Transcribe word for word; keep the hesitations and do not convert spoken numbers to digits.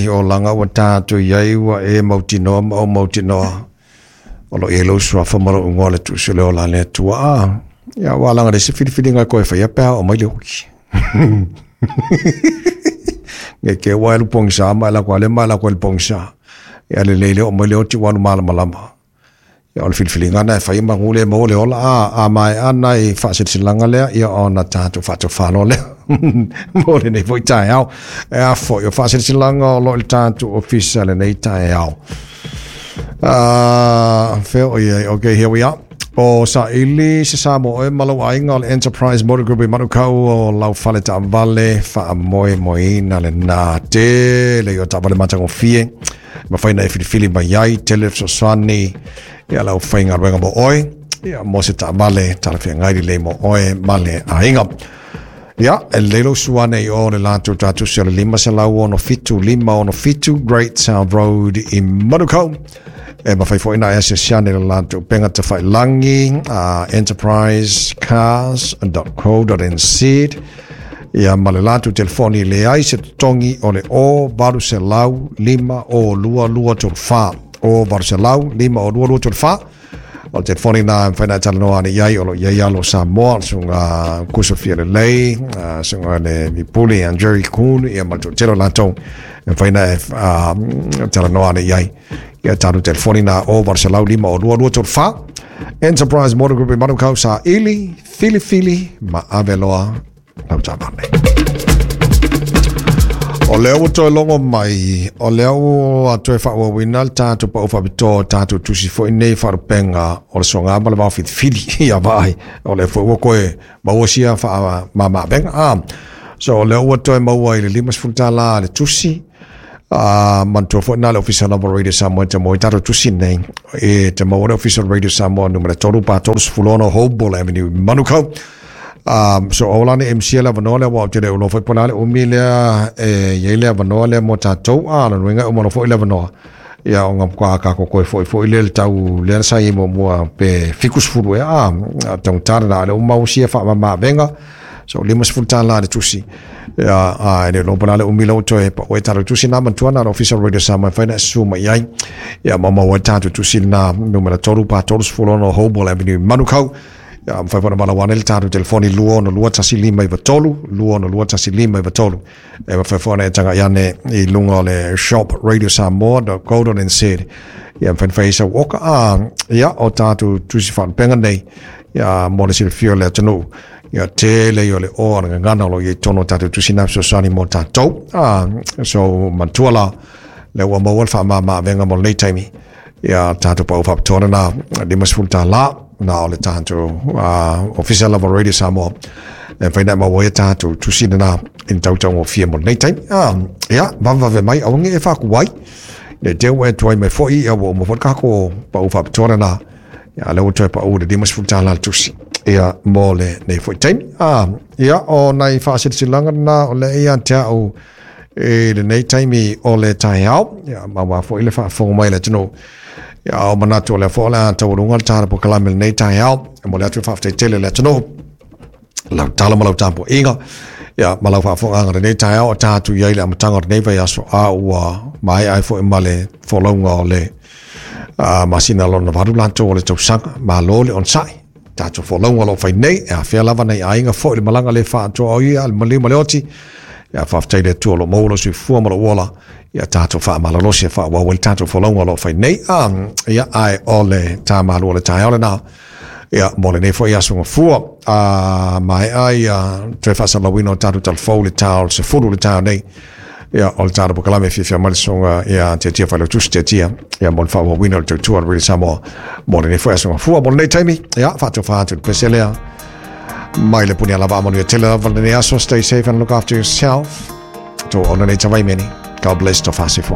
O laga ua tatou i ai ua e mautinoa ma ou mautinoa o loo i ai lou suafa ma lou igoa le tuusi o le ola a le Atua a. Ia ua alaga le isi filifiliga e koe faia pe a oo mai le oti. Nge ke ua alu pogisa ma e lako ale ma e lako i le pogisa. Ia lelei le oo mai le oti ua alu malamalama. Ia o le filifiliga na e fai ma le maua le ola a a maea nai faasilasilaga lea ia ona tatou faatofalo lea mo lenei foi taeao. E a foi o faasilasilaga o loo i le tatou ofisa lenei taeao. Uh, fea o iai. Okay, here we are. O saili se sa mo oe ma lou aiga o le Enterprise Motor Group i Manukau o lau fale taavale faamoemoeina lenā tele i o taavale matagofie. Mafai na e filifili mai ai, tele fesoasoani ia lau faigaluega mo oe, ia mo se taavale talafeagai lelei mo oe ma le aiga. Ia, e lelei lou suane i o le latou tatusi o le lima selau ono fitu lima ono fitu Great South Road i Manukau. E mafai foi na e asiasi ane le latou upega tafailagi uh, enterprise cars dot co dot n z ia ma le latou telefoni leai se totogi o le o valu selau lima o lua lua tolu fa o valu selau lima o lua lua tolu fa. O le telefoni na mafai na e talanoa ane i ai o lo i ai alo Samoa le susuga Kusafia Lelei, susuga le Vipuli Jerry Kuhn ia ma le toatele o latou e mafai na e talanoa ane i ai. Ia tatou telefoni na o valu selau lima o lua lua tolu fa. Enterprise Motor Group i Manukau, saili, filifili ma ave loa lau taavale. O lea ua toe logo mai, o lea ua toe faaauauina le tatou pau faapitoa tatou tusi foi nei faalupega o le soga ma le vaofilifili ia vaai. O lea foi ua toe maua sia faamamaavega. Ah, so o lea ua toe maua i le limasefulu tālā le tusi, uh, manatua foi na le Ofisa lava Radio Samoa te mo i tatou tusi nei e te maua le Ofisa Radio Samoa numera tolu pa tolu sefulu ono Hoball Avenue Manukau. Um, so o lana M C le avanoa lea ua te le ulo foi po le umi lea e iai le avanoa lea mo tatou a la nuinga o mo foi le avanoa. Ia o ngā kwa ka ko koe foi foi le tau lea sa i mo mua pe fiku sefulu e a tau tara na le umau sia wha ma venga. So lima sefulu tālā le tusi. Ia a e le lopa le umi lau toe pa oe tatou tusi na manatua na le Ofisa Radio Samoa whaina su mai ai. Ia mama oe tatou tusi na numera tolu pa tolu sefulu ono Hoball Avenue Manukau. Ia mafai foi ona valaau ane le tatou telefoni lua ono lua tasi lima iva tolu, lua ono lua tasi lima iva tolu. E mafai foi ona e taga'i ane i luga o le shop radio samoa dot co dot n z. Ia mafai ona fai ai sau oka a ia o tatou tusi faalupega nei ia mo le silafia o le atunuu. Ia tele ia o le oa le gagana o lo i ai tonu o tatou tusi na fesoasoani mo tatou. A so manatua la le ua maua le faamamaavega mo lenei taimi. Ia tatou pau faapitoa na limasefulu tālā na o le tatou uh, Ofisa lava Radio Samoa e mafai na maua ai tatou tusi na i tautaugofie mo lenei taimi. Ah, ia vavevave mai aua e faakuai le te ua e tuai mai foi ia ua uma foi le kako pau faapitoa na ia le ua toe pau le limasefulu tālā le tusi ia mo le nei foi taimi. Ah, ia o nai faasilasila na o le ia te au e lenei taimi o le taeao ia ma ua foi le faafofoga mai le atunuu. Ia o manatu o lea foi o le a taualuga le tala polokalame lenei taeao e mo le atu faafetai tele le atunuu lau tala ma lau tapuaiga ia ma lau faafofogaaga lenei taeao o tatou i ai le amataga o lenei vaiaso a ua maea ai foi ma le folauga o le uh, masina lona valu latou o le tausaga malo le onosai tatou folauga o loo fai nei e afea lava nei aiga foi le malaga le faatoa o ia le maliu ma le oti ia faafetai le Atua o lo maua lo soifua ma lou ola ia tatou faamalolosi e faaauau ai le tatou folauga o loo fai nei a ia ae o le tamalu o le taeao lenā ia mo lenei foi aso gafua a maea ia toe faasalalauina o tatou talafou le tao le sefulu le taeao nei ia o le tatou polokalame fiafia mai le susuga ia Tiatia Failautusi Tiatia ia mo le faaauauina o le tautua o le Radio Samoa mo lenei foi aso gafua mo lenei taimi ia faatofa atu le pese lea mai le puni alava amanuia tele lava lenei aso. Stay safe and look after yourself to ona nei tavaimeni. God bless to fasi fo.